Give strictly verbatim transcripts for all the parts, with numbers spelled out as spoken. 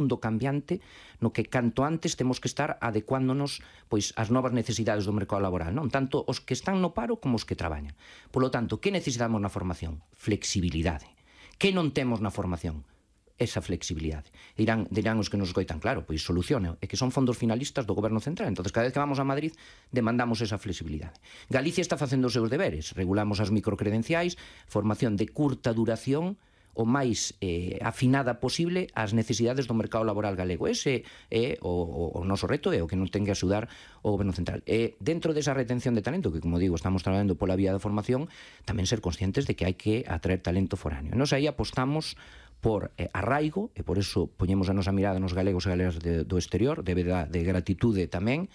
mundo cambiante no que canto antes temos que estar adecuándonos pois ás novas necesidades do mercado laboral, non? Tanto os que están no paro como os que traballan. Polo tanto, que necesitamos na formación? Flexibilidade. Que non temos na formación? Esa flexibilidade. Dirán, dirán os que nos escoitan, claro, pois solucione, é que son fondos finalistas do Goberno Central, entonces cada vez que vamos a Madrid demandamos esa flexibilidade. Galicia está facendo os seus deberes, regulamos as microcredenciais, formación de curta duración, o máis eh, afinada posible ás necesidades do mercado laboral galego. Ese é o, o, o noso reto, é o que non ten que axudar o Goberno Central. E dentro desa retención de talento, que como digo, estamos traballando pola vía da formación, tamén ser conscientes de que hai que atraer talento foráneo. Nos aí apostamos por eh, arraigo, e por eso poñemos a nosa mirada nos galegos e galegas de, do exterior, de, de gratitude tamén,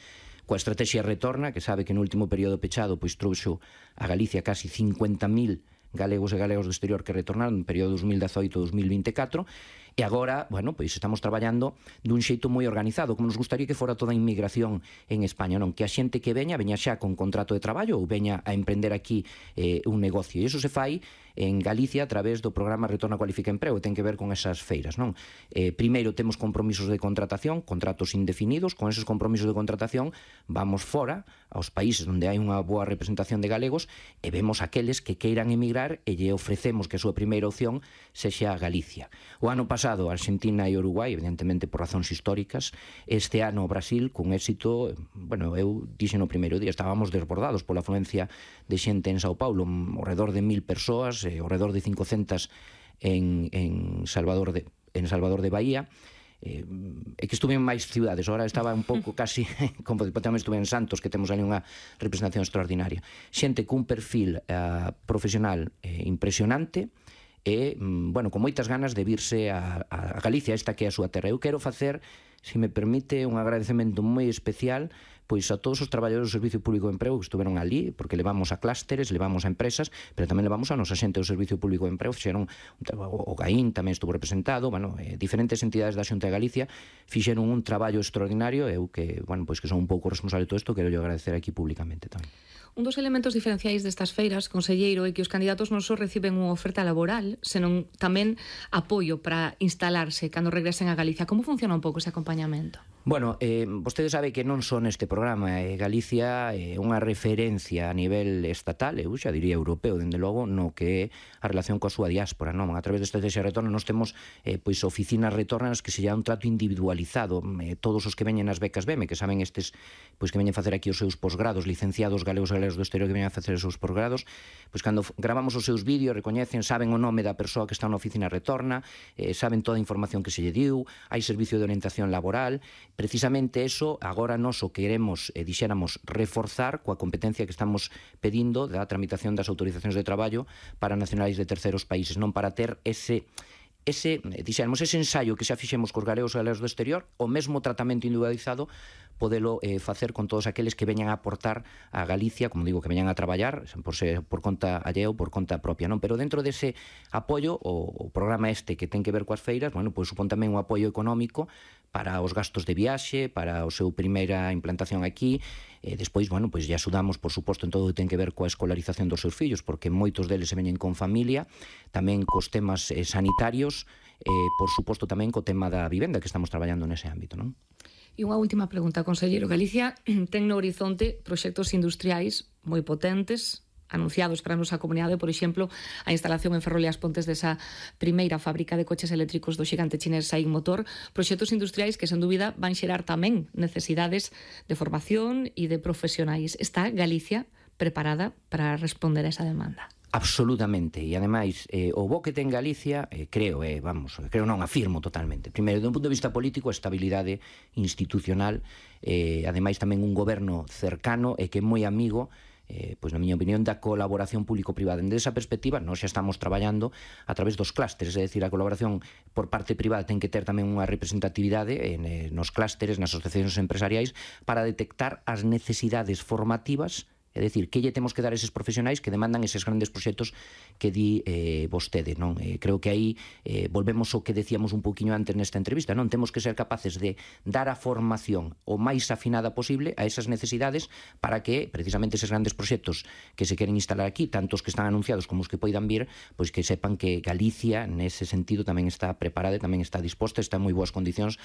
coa estrategia Retorna, que sabe que no último período pechado pois trouxo a Galicia casi cincuenta mil galegos e galegos do exterior que retornaron no período dos mil dezoito a dos mil vinte e catro, e agora, bueno, pois estamos traballando dun xeito moi organizado, como nos gustaría que fora toda a inmigración en España, non? Que a xente que veña, veña xa con contrato de traballo ou veña a emprender aquí eh, un negocio. E iso se fai en Galicia a través do programa Retorna Cualifica Emprego, ten que ver con esas feiras, non? Eh, primeiro temos compromisos de contratación, contratos indefinidos, con esos compromisos de contratación vamos fora aos países onde hai unha boa representación de galegos e vemos aqueles que queiran emigrar e lle ofrecemos que a súa primeira opción sexa Galicia. O ano pasado Argentina e Uruguai, evidentemente por razóns históricas, este ano Brasil cun éxito, bueno, eu dixen no primeiro día, estábamos desbordados pola afluencia de xente en Sao Paulo, ao redor de mil persoas, eh, ao redor de cincocentas en, en Salvador de en Salvador de Bahía. Eh, é que estuve en máis ciudades, agora estaba un pouco casi como tamén estuve en Santos, que temos ali unha representación extraordinaria, xente cun perfil uh, profesional eh, impresionante e, bueno, con moitas ganas de virse a, a Galicia, esta que é a súa terra. Eu quero facer, se me permite, un agradecemento moi especial pois a todos os traballadores do Servicio Público de Emprego que estuveron ali, porque levamos a clústeres, levamos a empresas, pero tamén levamos a nosa xente do Servicio Público de Emprego, fixeron, o GAIN tamén estuvo representado, bueno, eh, diferentes entidades da Xunta de Galicia fixeron un traballo extraordinario, eu que, bueno, pois que son un pouco responsable de todo isto, quero yo agradecer aquí públicamente tamén. Un dos elementos diferenciais destas feiras, conselleiro, é que os candidatos non só reciben unha oferta laboral, senón tamén apoio para instalarse cando regresen a Galicia. Como funciona un pouco ese acompañamento? Bueno, eh, vostede sabe que non só neste programa, eh, Galicia é eh, unha referencia a nivel estatal, eu xa diría europeo, dende logo, no que é a relación coa súa diáspora, non? A través desta estrategia Retorna nos temos eh, pois oficinas retornas que se lle dá un trato individualizado, eh, todos os que veñen as becas B E M E, que saben estes, pois que veñen facer aquí os seus posgrados, licenciados galegos e do exterior que veñen a facer os seus posgrados, pois cando gravamos os seus vídeos, recoñecen, saben o nome da persoa que está na oficina Retorna, eh, saben toda a información que se lle diu, hai servicio de orientación laboral. Precisamente eso agora nos o queremos, eh, dixéramos, reforzar coa competencia que estamos pedindo da tramitación das autorizacións de traballo para nacionais de terceros países, non para ter ese ese, dixéramos, ese ensaio que xa fixemos cos galegos e galegos do exterior, o mesmo tratamento individualizado podelo eh, facer con todos aqueles que veñan a aportar a Galicia, como digo, que veñan a traballar por, ser, por conta allea ou por conta propia, non? Pero dentro dese apoio, o, o programa este que ten que ver coas feiras, bueno, pois supón tamén un apoio económico para os gastos de viaxe, para o seu primeira implantación aquí, e despois, bueno, pois lle axudamos, por suposto, en todo o que ten que ver coa escolarización dos seus fillos, porque moitos deles se veñen con familia, tamén cos temas eh, sanitarios, e, por suposto, tamén co tema da vivenda, que estamos traballando nese ámbito, non? E unha última pregunta, conselleiro. Galicia ten no horizonte proxectos industriais moi potentes, anunciados para a nosa comunidade, por exemplo, a instalación en Ferrol e as Pontes desa primeira fábrica de coches eléctricos do xigante chinés Saín Motor, proxectos industriais que, sen dúbida, van xerar tamén necesidades de formación e de profesionais. Está Galicia preparada para responder a esa demanda? Absolutamente, e ademais eh, o bo que ten Galicia, eh, creo, eh, vamos, creo non, afirmo totalmente. Primeiro, de un punto de vista político, a estabilidade institucional, eh, ademais tamén un goberno cercano e que é moi amigo, eh, pois na miña opinión, da colaboración público-privada. Dende esa perspectiva, nós xa estamos traballando a través dos clústeres, é dicir, a colaboración por parte privada ten que ter tamén unha representatividade en, eh, nos clústeres, nas asociacións empresariais, para detectar as necesidades formativas É dicir, que lle temos que dar a eses profesionais que demandan eses grandes proxectos que di eh, vostede, non? Eh, creo que aí eh, volvemos ao que decíamos un poquinho antes nesta entrevista, non? Temos que ser capaces de dar a formación o máis afinada posible a esas necesidades para que, precisamente, eses grandes proxectos que se queren instalar aquí, tanto os que están anunciados como os que poidan vir, pois que sepan que Galicia, nese sentido, tamén está preparada e tamén está disposta, está en moi boas condicións